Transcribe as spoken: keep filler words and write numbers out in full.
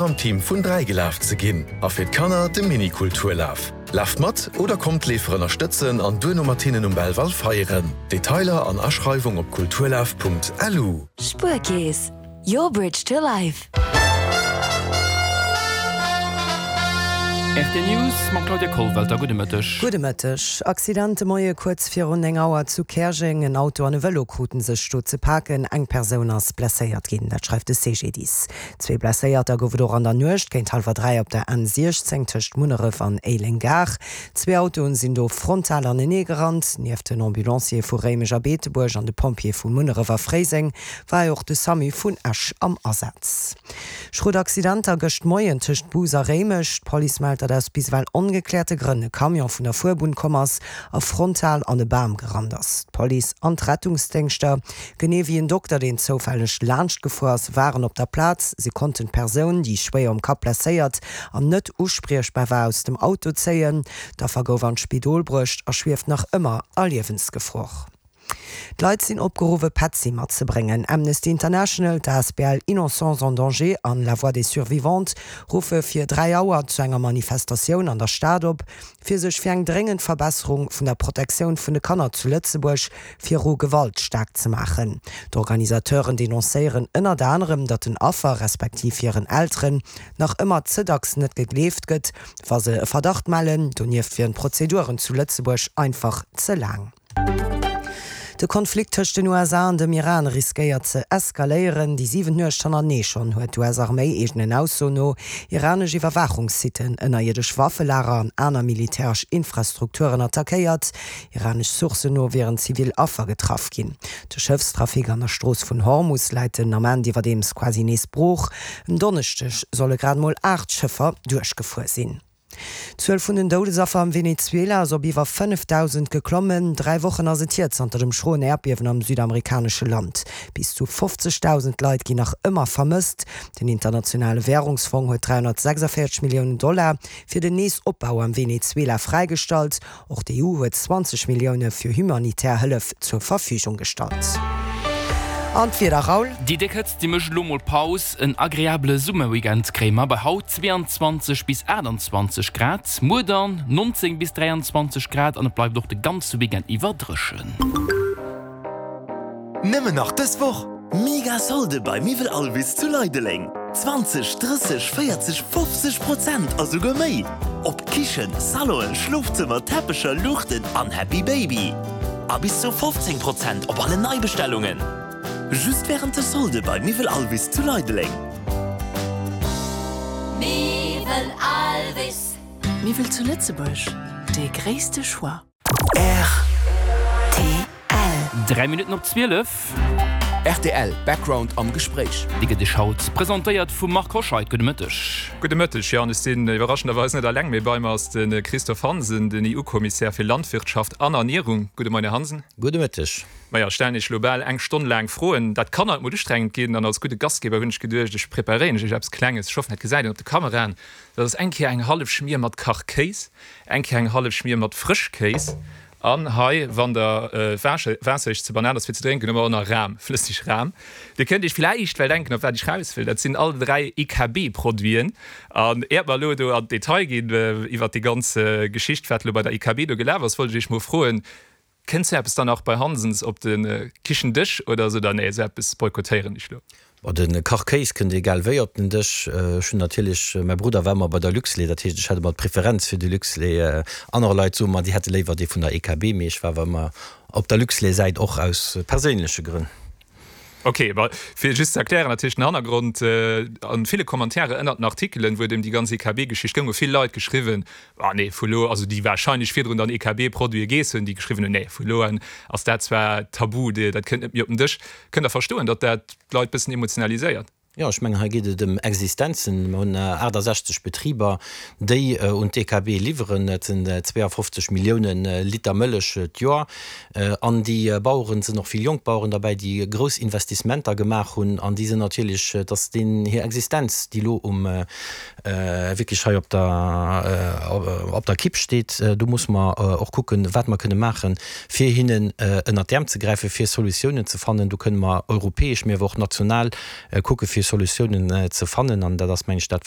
Am Team vun dräi gelaf ze ginn a fir d'Kanner de Mini-Kulturlaf. Laaft mat oder kommt d'Leefer ënnerstëtzen an duerno mat hinnen um Belval feieren. Detailer an Aschreiwung op kulturlaf Punkt L U. Spuerkeess, your bridge to life. R T L News mam Claudia Kollwelter. Gudde Mëtteg. Gudde Mëtteg. Accident de Moie kuerz virun néng Auer zu Käerjeng. En Auto an e Vëlo kruten sech do ze paken. Eng Persoun ass blesséiert ginn, dat schreift de C G D I S. Zwee Blesséierter gouf et och an der Nuecht géint hallwer dräi op der N siechzéng tëscht Munneref an Éileng-Gare. Zwee Autoen sinn do frontal anenee gerannt. Nieft den Ambulanciere vu Réimech a Beetebuerg an de Pompjeeë vu Munneref a Fréiseng war och de SAMU vun Esch am Asaz. Schrot Accidenter gëscht Moien tëscht Bous a Réimech. D'Police mellt, datt aus bis ewell ongekläerte Grënn e Camion vun der Fuerbunn komm ass a frontal an e Bam gerannt ass. D'Police an d'Rettungsdéngschter, genee wéi en Dokter, deen zoufälleg laanscht gefuer ass, waren op der Plaz. Si konnten d'Persoun, déi schwéier um Kapp blesséiert an net uspriechbar war, aus dem Auto zéien. D'Affer gouf an d'Spidol bruecht a schwieft nach ëmmer a Liewensgefor. D'Leit sinn opgeruff, Petzi matzebréngen. Amnesty International, d'A S B L Innocents en danger an La Voix des Survivantes ruffe fir dräi Auer zu enger Manifestatioun an der Stad op, fir sech fir eng dréngend Verbesserung vun der Protektioun vun de Kanner zu Lëtzebuerg viru Gewalt staark ze maachen. D'Organisateuren denoncéieren ënnert anerem, datt den Affer respektiv hiren Elteren nach ëmmer ze dacks net gegleeft gëtt, wa se e Verdacht mellen. Donieft wieren d'Prozeduren zu Lëtzebuerg einfach ze laang. De Konflikt tëscht den U S A an dem Iran riskéiert ze eskaléieren. Déi siwent Nuecht hannertenee schonn huet d'U S-Arméi eegenen Aussoen no iranesch Iwwerwaachungssitten, ënnerierdesch Waffelager an aner militäresch Infrastrukturen attackéiert. Iranesch Sourcen no wieren zivil Affer getraff ginn. De Schëffstrafic an der Strooss vun Hormus läit den Ament iwwerdeems quasi nees brooch. En Donneschdeg solle grad mol aacht Schëffer duerchgefuer sinn. D'Zuel vun den Doudesaffer am Venezuela ass op iwwer fënnefdausend geklommen. Dräi Wochen ass et hier zanter dem schroen Äerdbiewen am südamerikanesche Land. Bis zu fofzegdausend Leit ginn nach ëmmer vermësst. Den internationale Wärungsfong huet dräihonnertsechsundvéierzeg Milliounen Dollar fir den Neesopbau am Venezuela fräigestallt. Och d'E U huet zwanzeg Millioune fir humanitär Hëllef zur Verfügung gestallt. An d'Wieder, Raoul? Déi déck Hëtzt, déi mécht elo mol Paus. En agreabele Summerweekend kréie mer bei haut zwee an zwanzeg bis aachtanzwanzeg Grad, muer dann nonzéng bis dräianzwanzeg Grad an et bleift och de ganze Weekend iwwer dréchen. Nëmmen nach dës Woch. Mega Solde bei Miwwel Alvis zu Leideleng. zwanzeg, drësseg, véierzeg, fofzeg Prozent a souguer méi. Op Kichen, Salonen, Schlofzëmmer, Teppecher, Luuchten an Happy Baby. A bis zu fofzéng Prozent op alle Neibestellungen. Just wärend de Solde bei Miwwel Alvis zu Leideleng. Miwwel Alvis. Miwwel zu Lëtzebuerg, de gréisste Choix. R T L. Dräi Minutten op zwielef. R T L Background am Gespréich. Déi gëtt Iech haut presentéiert vum Marc Hoscheid. Gudde Mëtteg. Gudde Mëtteg. Jo, an ech sinn iwwerraschenderweis net eleng, mee bei mir ass de Christophe Hansen, den E U-Kommissär fir Landwirtschaft an Ernierung. Gudde Moien, Här Hansen. Gudde Mëtteg. Maja, ech stellen Iech elo bal eng Stonn laang Froen. Dat kann alt mol ustrengend ginn an als gudde Gastgeber hunn ech geduecht, ech preparéieren Iech eppes Klenges. Ech hoffen, dat gesäit een op de Kameraen. Dat ass eng Kéier eng hallef Schmier mat Kachkéis, eng Kéier eng hallef Schmier mat Frëschkéis an hei, wann der Waasser Iech ze banal ass fir ze drénken, hu mer och nach Ram, flësseg Ram. Dir kënnt Iech vläicht well denken, op wat ech raus wëll. Dat sinn all dräi E K B-Produiten. An iert mer elo do an d'Detail ginn iwwert déi ganz Geschicht, wat elo bei der E K B do gelaf ass, wollt ech Iech mol froen, Kënnt sou eppes dann och bei Hansens op de Kichendësch oder sot Der, nee, sou eppes boykottéieren ech elo? Bon, de Kachkéis kënnt egal wéi op den Dësch. Ech hunn natierlech, mäi Brudder war ëmmer bei der Luxlait, dat heescht, ech hat ëmmer d'Preferenz fir de Luxlait. Aner Leit soe mer, déi hätte léiwer dee vun der E K B, mee ech war awer ëmmer op der Luxlait-Säit, och aus perséinleche Grënn. Ok, ma fir just ze erklären natierlech den Hannergrond, A ville Kommentairen ënnert den Artikelen, wou et ëm déi ganz E K B-Geschicht goung, hu vill Leit geschriwwen, Ah nee, vu lo, also déi warscheinlech virdrun dann E K B-Produite geess hunn, déi geschriwwen hunn, Nee, vu lo un ass dat zwar tabu, dat kënnt net méi op den Dësch. Kënnt Der verstoen, datt dat d'Leit bëssen emotionaliséiert? Jo, ech mengen, hei geet et ëm Existenzen. Mer hunn aachtasechzeg Betriber, déi un d'E K B liwweren. Dat sinn zweeafofzeg Milliounen Liter Mëllech d'Joer. An déi Baueren, et sinn och vill jonk Baueren derbäi, déi grouss Investissementer gemaach hunn. An déi sinn natierlech, et ass deenen hir Existenz, déi elo um wierklech hei op der op der Kipp steet. Do musse mer och kucken, wat mer kënne maachen, fir hinnen ënnert d'Äerm ze gräifen, fir Solutiounen ze fannen. Do kënne mer europäesch, mee awer och national kucke fir Solutiounen ze fannen. An dat ass, mengen ech, dat, wat